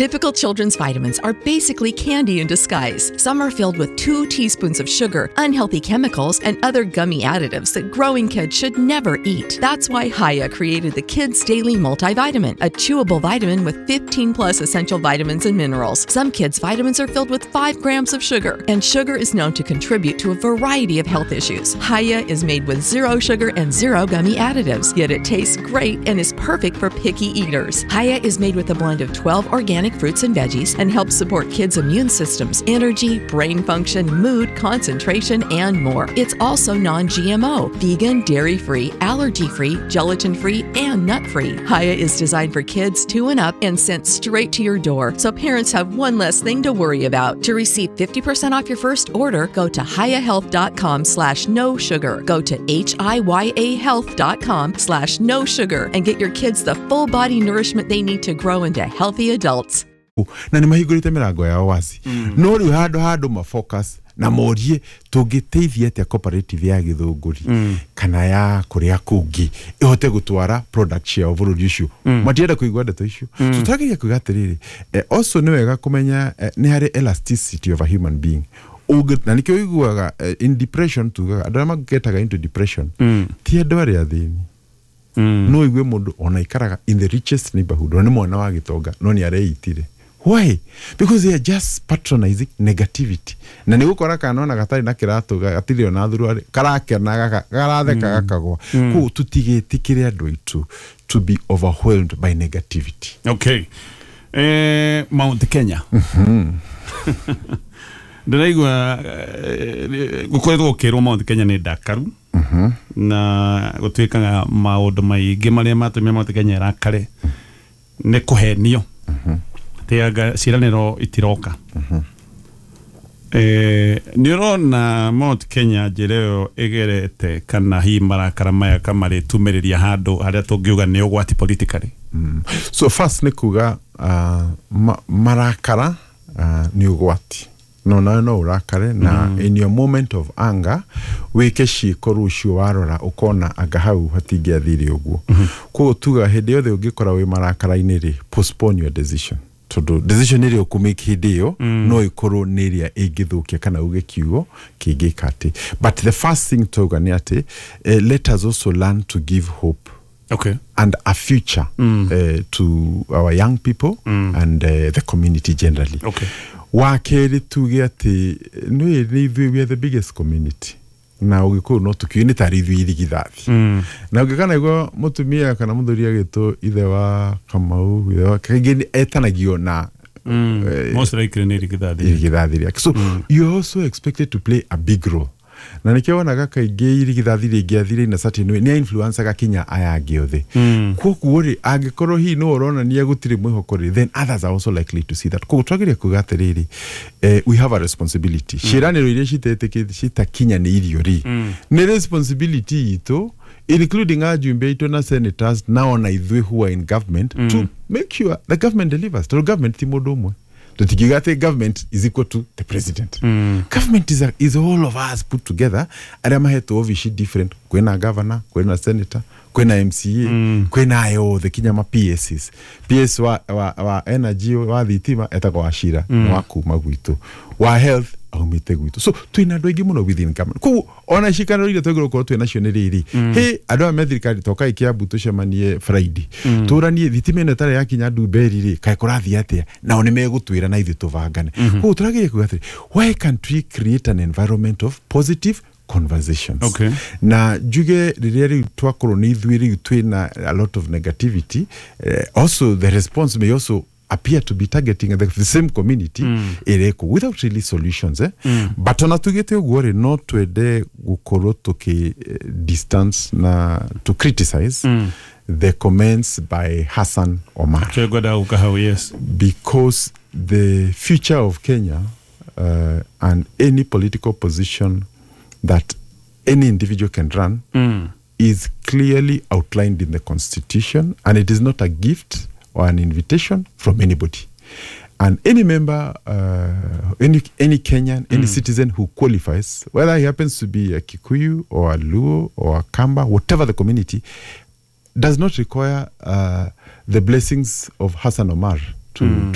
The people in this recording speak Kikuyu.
Typical children's vitamins are basically candy in disguise. Some are filled with 2 teaspoons of sugar, unhealthy chemicals, and other gummy additives that growing kids should never eat. That's why Hiya created the Kids Daily Multivitamin, a chewable vitamin with 15 plus essential vitamins and minerals. Some kids' vitamins are filled with 5 grams of sugar, and sugar is known to contribute to a variety of health issues. Hiya is made with zero sugar and zero gummy additives, yet it tastes great and is perfect for picky eaters. Hiya is made with a blend of 12 organic fruits and veggies and helps support kids' immune systems, energy, brain function, mood, concentration, and more. It's also non-GMO, vegan, dairy-free, allergy-free, gelatin-free, and nut-free. Hiya is designed for kids 2 and up and sent straight to your door, so parents have one less thing to worry about. To receive 50% off your first order, go to hiyahealth.com/no sugar. Go to hiyahealth.com/no sugar and get your kids the full body nourishment they need to grow into healthy adults. Na nä mahingå rä te mä rango yao waci, no rä u handå mafocus na morie tũngĩteithia atĩa cooperative ya Gĩthũngũri kana ya kũrĩa kũngĩ ĩhote gũtwara product ciao bũrũri ũcio. Matienda kũigua ndeto icio. So tũrageria kuga atĩrĩrĩ, also nĩ wega kũmenya nĩ harĩ elasticity of a human being. Na nĩkĩo ũiguaga in depression, tugaga andũ arĩa magetaga into depression ti andũ arĩa athĩni. No igue mũndũ ona ikaraga in the richest neighborhood, ona nĩ mwana wa gĩtonga, no nĩ areitire. Why? Because they are just patronizing negativity. Na nĩ gũkora kana ona gatarĩ na kĩratũ, gatirĩ ona thuruarĩ, karakena, garatheka, gakagwa. Koguo tũtigĩtĩkĩre andũ aitũ to be overwhelmed by negativity. Okay, Mount Kenya ndĩraigua gũkoretwo gũkĩrwo Mount Kenya nĩ ndakaru na gũtuĩkaga maũndũ maingĩ marĩa matũmire Mount Kenya ĩrakare nĩ kũhenio atĩ anga ciĩranĩro itiroka. Nĩ ũrona Mount Kenya njĩra ĩyo ĩgerete, kana hihi marakara maya kamarĩtumĩrĩria handũ harĩa tũngiuga nĩ ũgwati politically? So first nĩ kuga marakara nĩ ũgwati, no nawe no ũrakare na in your moment of anger wĩke ciĩko rũciũ warora ũkona anga hau hatingĩathire ũguo. Koguo tuga hĩndĩ yothe ũngĩkora wĩ marakara-inĩ rĩ, postpone your decision, tondũ decision ĩrĩa ũkũmake hĩndĩ ĩyo no ĩkorwo nĩ ĩrĩa ĩngĩthũkia kana uge kiugo kĩngĩka atĩ. But the first thing tauga nĩ atĩ let us also learn to give hope and a future to our young people and the community generally. Wa kerĩ, tuge atĩ nĩ ithuĩ, we are the biggest community, na ũgĩkũyũ no tũkiuge nĩ tarĩ ithuĩ irigithathi. Na ũngĩkana igua mũtumia kana mũthuri agĩtwo ithe wa Kamau, ithe wa kaingĩ etanagio na Most likely nĩ irigithathi. Irigithathi rĩake. So you are also expected to play a big role, na nĩkĩo wonaga kaingĩ irigithathi rĩngĩathire in a certain way nĩ influencaga kinya aya angĩ othe. Koguo rĩ, angĩkorwo hihi no ũronania gũtirĩ mwĩhoko rĩ, then others are also likely to see that. Koguo twagĩrĩire kuga atĩrĩrĩ, we have a responsibility. Ciĩranĩro iria citetĩkĩte citakinyanĩirio rĩ, nĩ responsibility itũ, including ajumbe aitũ na senators na ona ithuĩ who are in government, to make sure the government delivers, tondũ government ti mũndũ ũmwe. Tũtingiuga atĩ government is equal to the president. Government is all of us put together, arĩa mahetwo obici different. Kwĩna governor, kwĩna senator, kwĩna MCA, kwĩna aya othe kinya ma PSs. PS wa energy, wa thitima, etagwo Wachira, nĩ wa kuma gwitũ, wa health aumĩte gwitũ. So twĩna andũ aingĩ mũno within government. Koguo ona ciikaro iria twagĩrĩirwo gũkorwo twĩ nacio nĩ rĩrĩ, hĩ, andũ aya me thirikari, tokai Kiambu tũcemanie Friday, tũranie thitima ĩno ĩtarĩ yakinya Ndumberi rĩ, kaĩ kũrathiĩ atĩa? Nao nĩ megũtwĩra na ithuĩ tũbangane. Koguo tũrageria kuga atĩrĩ, why can't we create an environment of positive conversations? Na njuge rĩrĩa rĩu twakorwo nĩ ithuĩ rĩu twĩna a lot of negativity, also the response may also appear to be targeting the same community ĩrĩkũ without really solutions, eh? But ona tugĩte ũguo rĩ, no twende gũkorwo tũkĩ distance na to criticize the comments by Hassan Omar, Twengwenda gũka hau, yes. because the future of Kenya and any political position that any individual can run is clearly outlined in the constitution, and it is not a gift or an invitation from anybody. And any member, any Kenyan, any citizen who qualifies, whether he happens to be a Kikuyu or a Luo or a Kamba, whatever the community, does not require the blessings of Hassan Omar to,